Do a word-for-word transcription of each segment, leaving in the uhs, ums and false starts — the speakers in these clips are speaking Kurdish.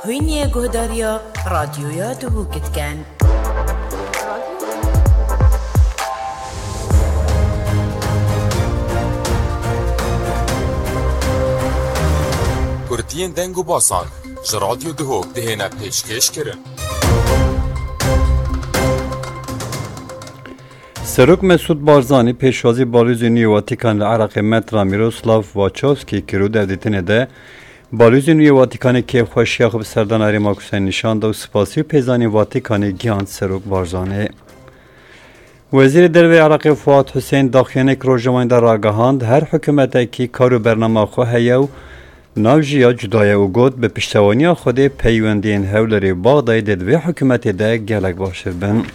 Hûn yê guhdariya Radyoya Duhok dikin. Kurtiyên deng û basan ji Radyo Duhok dihêne pêşkêş kirin. Serok Mesûd Barzanî pêşwazî Balûzê nû yê Watîkan li Iraqê Metra Miroslav Wachowski kir û di hevdîtinê de Balûzê nû yê Watîkanê kêfxweşiya xwe bi serdana Herêma Kurdistan nîşan da û spasî û pêzanî Watîkanê gihand Serok Barzanî. Wezîrê Derve Iraqê Fuat Husên daxuyaniyek rojnameyan de ragihand, her hikûmetekî kar û bernama xwe heye û navjiya cuda ye û got, bi piştevaniya Xwedê peywendiyên Hewlêrê û Baxdayê dê di vê hikûmetê de gelek baştir bin.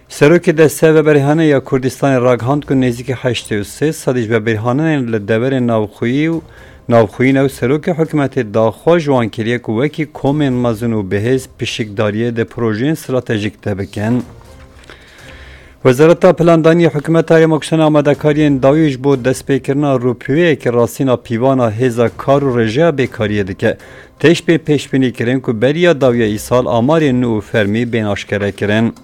Serokê Desteya Veberhane ya Kurdistanê ragihand ku nêzîkî heştê û sê sedî ji veberhanên li deverên navxweyî û navxweyî ne û serokê hikûmetê daxwaz ji wan kiriye ku wekî komên mezin û bihêz pişikdariyê di projeyên stratejîk de bikin. Wezareta Plandaniyê Hikûmeta Herêma Kurdistanê amadekariyên dawî ji bo destpêkirina rûpiyeyekî rastîna pîvana hêza kar û rêjeya bêkariyê dike. Tê ji pê pêşbînî kirin ku beriya dawiya îsal amarên nû û fermî bên aşkere kirin.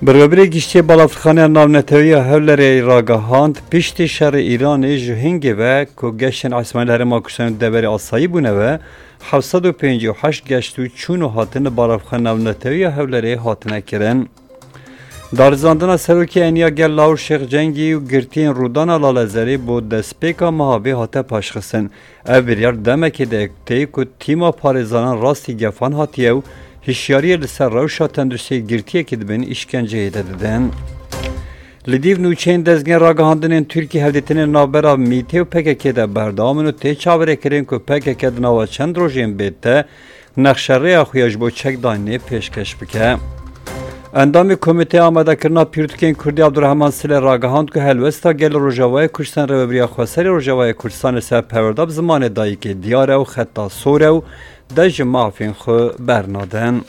Bi rêberê giştiyê Balafirxaneya Navnetewî ya Hewlêrê ragihand, piştî şerê Îranê ji hingê ve ku geştên esmanî li Herêma Kurdistanê û deverê asayî bûne ve, heft sed û pêncî û heşt geşt û çûn û hatin li Balafirxaneya Navnetewî ya Hewlêrê hatine kirin. Darizandina serokê Eniya Gel Lawir Şêx Cengî û girtiyên Rûdana Lalezerê bo destpêka meha vê hate paşxistin. Ev biryar demekê de tê ku tîma parêzanan rastî gefan hatiye û hişyariyê li ser rewşa tenduristiyê girtiyekî dibin, îşkenceyê de didin. Li dîv nûçeyên dezgehên ragihandinên Tirkî hevdîtinên navbera MÎTê û P K K de berdewam in û tê çaverêkirin ku P K K di nava çend rojên bê te nexşerêya xwe ya ji bo çekdanînê pêşkeş bike. Endamê Komîteya Amadekirina Pîrtûkên Kurdî Abdurrehman Sile ragihand ku helwesta gelê Rojavayê Kurdistan Rêvebiriya Xweserê Rojavayê Kurdistanê ser perwerda bi zimanê dayikê diyar e û xeta sor e û dest ji mafên xwe bernadin.